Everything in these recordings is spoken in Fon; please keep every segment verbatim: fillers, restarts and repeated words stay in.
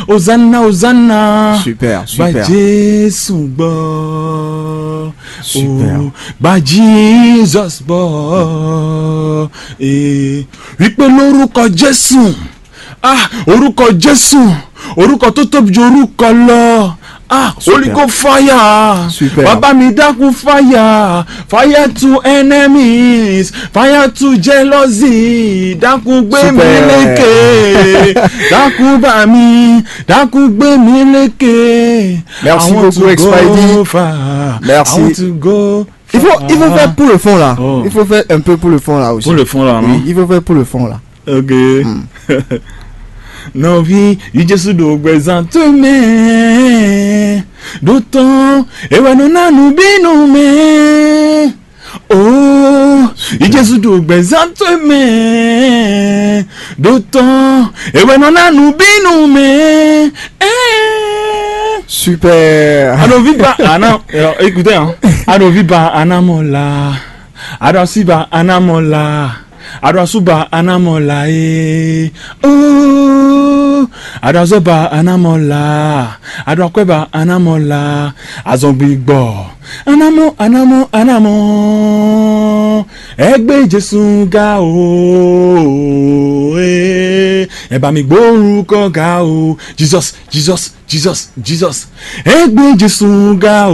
Hosanna, Hosanna. Super, super. Gba Jésù gbɔ. Super. Oh, gba Jesus gbɔ. Eh, wípé lórúkọ Jésù. Ah, orúkọ Jésù. Orúkọ tó tóbi ju orúkọ lọ. Ah, Super. Holy Ghost fire. Super. Bàbá mi dákun fire. Fire to enemies. Fire to jealousy. Dákun gbé mi Super. Lékè. Dákun bá mi. Dákun gbé mi lékè. Merci I want beaucoup, to go Expady. Far. Merci. I want to go Il faut, il faut far. Faire pour le fond là. Oh. Il faut faire un peu pour le fond là aussi. Pour le fond là, oui, non? Il faut faire pour le fond là. Ok. Hmm. Nɔví, yi Jésù ɖo gbɛzán towe mɛ. Ɖó tɔn, ewɛ nɔ ná nǔ bínú mɛ. Oh, yi Jésù ɖo gbɛzán towe mɛ. Ɖó tɔn, ewɛ nɔ ná nǔ bínú mɛ. Eh. Super. Aɖo viva ana, écoutez, hein. Aɖo viva ana mɔ la. Aɖo asi ba ana mɔ la. Aɖo asu ba ana mɔ la e. Oh, aɖo azɔ ba ana mɔ la. Aɖo akwɛ ba ana mɔ la. Azɔn gbigbɔ. Anamɔ, anamɔ, anamɔ. Ẹ gbé Jésù ga o. Eh, ẹ bá mi gbórúkọ ga o. Jesus, Jesus, Jesus, Jesus. Ẹ gbé Jésù ga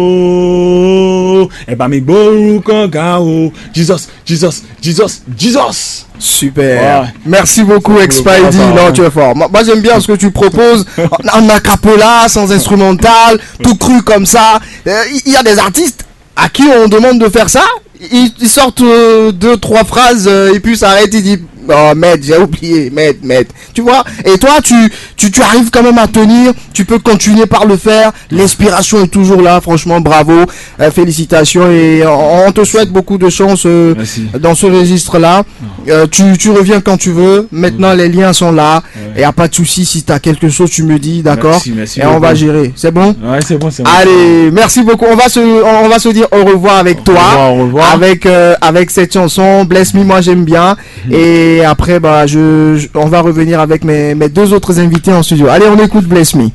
o. Ẹ bá mi gbórúkọ ga o. Jesus, Jesus, Jesus, Jesus. Super. Ouais. Merci beaucoup, Expady. Là, tu es fort. Moi, moi, j'aime bien ce que tu proposes en, en a cappella, sans instrumental, tout cru comme ça. Euh, Il y a des artistes à qui on demande de faire ça. Ils, ils sortent euh, deux, trois phrases euh, et puis ça arrête. Ils disent, oh, merde, j'ai oublié, merde, merde. Tu vois? Et toi, tu, tu, tu arrives quand même à tenir. Tu peux continuer par le faire. L'inspiration est toujours là. Franchement, bravo. Euh, félicitations. Et on, on te souhaite beaucoup de chance euh, dans ce registre-là. Euh, tu, tu reviens quand tu veux. Maintenant, les liens sont là. Il n'y a pas de souci. Si tu as quelque chose, tu me dis, d'accord? Merci, merci. Et on va gérer. C'est bon? Ouais, c'est bon, c'est bon. Allez, merci beaucoup. On va se, on va se dire au revoir avec toi. Au revoir, au revoir. Avec, euh, avec cette chanson, Bless Me, moi j'aime bien. Et après, bah, je, je- on va revenir avec mes, mes deux autres invités en studio. Allez, on écoute Bless Me.